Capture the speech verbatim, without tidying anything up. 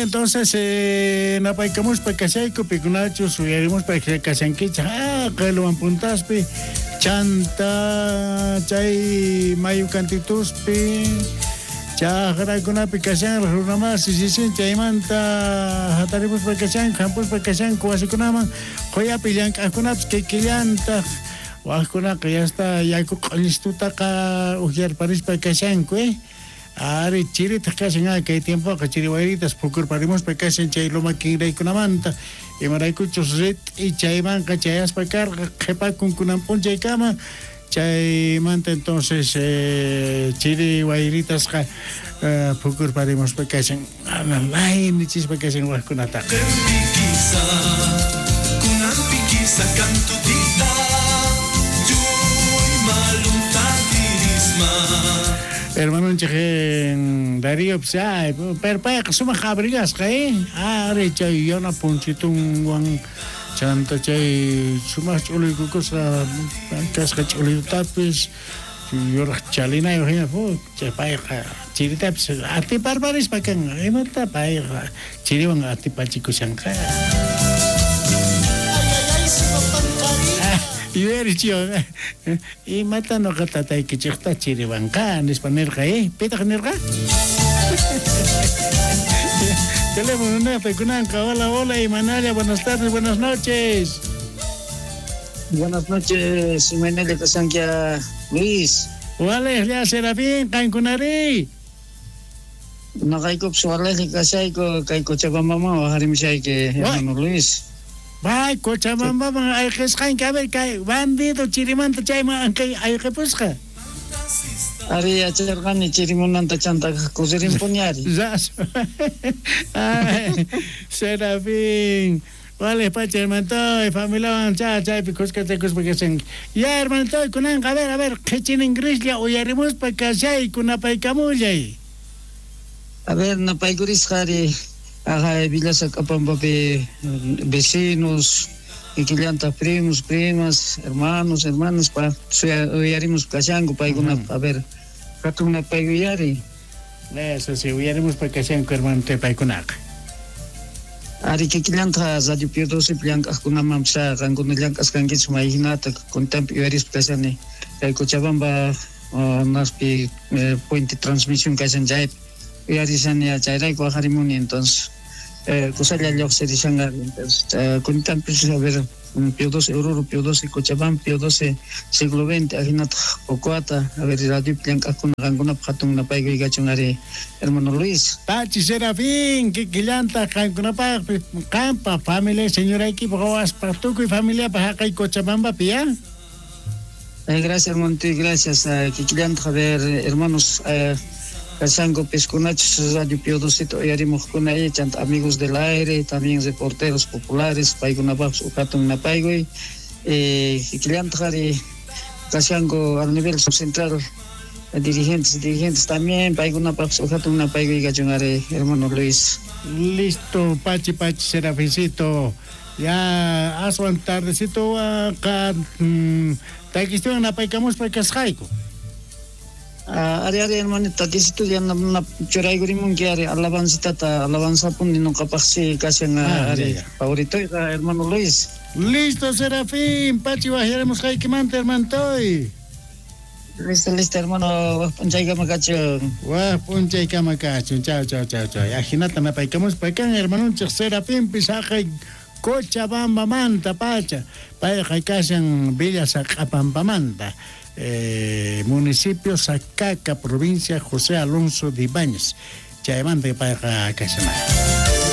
Entonces eh, napaykamuspa kashayku pikunachus uyarimuspa kashankichej ah qelwan puntaspi chanta chay mayu kantituspi chajrakunapi kashanraj runamasi sisin chaymanta hatarimuspa kashanku hampuspa kashanku wasikunaman qoyapi llank'aqkunapis kikillantaj wajkunaqa yasta yaku q'uñistutaqa ukyarparispa kashanku eh Ari chiritaq kashan ah, kay tiempoqa chiri wayritas pukurparimuspa kashan chay loma kinraykunamanta imaraykuchus rit'i chaymanqa chayaspa karqa qhipakun kunan p'unchaykama chaymanta entonces eh, chiri wayritasqa eh, pukurparimuspa kashan laynichispa kashan wajkunataqa. Hermanonchej Darío pues ay, pero payqa sumaq abrigasqa eh ari chay yana punchitunwan chanta chay sumaq ch'uluykukusqa kasqa ch'uluytapis yuraq chalinayuq hina chay payqa chiritapis atiparparispa kanqa imata payqa chiriwan atipachikushanqa. Yuyarichiwan imata noqa tataykichejta chiriwanqa nispa nirqa eh pitaq nirqa. Teléfono nepe kunanqa. Hola, hola, Imanalla, buenas tardes, buenas noches. Buenas noches, Imanalla kasankia Luis. Walej Serafín, qankunari. Noqaykupis walej kashayku kay Cochabambaman waqarimushayki hermano Luis. Bay, Cochabambaman ayqisqanki, a ver, kay bandido chirimanta chayman ayqipusqa. Ari yacharqani chirimunanta chanta kusirinpuñari. Ay, Serafín. Vale, pacha, hermantoy, familiawan cha chaypi kuskachakuspa kashanki. Ya, hermantoy, kunanqa, a ver, a ver, qhichinin grislla uyarimuspa kashay kunapaykamullay. A ver, napaykurisqa ari. Ajá, Villa Sacapambapi vecinos, kikillanta primos, primas, hermanos, hermanas, pa uyarimos kashanku paykuna, a ver, hatun napaykuyari. Eso sí, uyarimus pa kashanku hermano paykunaqa. Ari kikillanta Radio Pio doce llank'aqkunaman sa qankuna llank'asqankichik mayhinata kuntanpi uyarispa kashani kay Cochabamba naspi puente transmisión kashan chaypi uyarishani chayrayku waqarimuni entonces eh, kusalla lluqsirishanqa entonces kuntanpis a ver Pio doce Oruro, Pio doce Cochabamba, Pio doce siglo veinte ahinataq Pocoata, a ver radiopi llank'aqkuna qankunapaq hatun napaykuykachun ari hermano Luis. Pachi Serafín, kikillanta qankunapaq qampa familia señoraykipaq wawaspaq tukuy familiapaq haqay Cochabambapi ya. Eh, gracias hermano, gracias kikillanta a ver hermanos eh, kashanku piskunachus Radio Pio docito uyarimuqkuna chanta amigos del aire, también reporteros populares, paykunapaqpis uqhatun napaykuy eh, kikillantaq ari kashanku al nivel subcentral dirigentes, dirigentes también paykunapaqpis uqhatun napaykuy kachun ari hermano Luis. Listo, pachi pachi Serafincito, ya aswan tardecito qa takistuwan napaykamuspa kasqayku. Uh, ari ari hermanita takisito ya na na churaykurimunki ari alabanzitata alabanzapuni nuqapaqsi kashan ah, ari favorito hermano Luis. Listo Serafín, pachi waqyarimusqaykimanta hermantoy. Listo, listo hermano, waq p'unchaykama kachun. Waq p'unchaykama kachun, chao, chao, chao, chao. Ajinata napaykamuspa kan hermanonchik Serafinpis haqay Cochabambamanta pacha, payqa kashan Villa Saqapampamanta. Eh, municipio Sacaca, provincia José Alonso de Ibáñez. Chaymanta payqa kashan.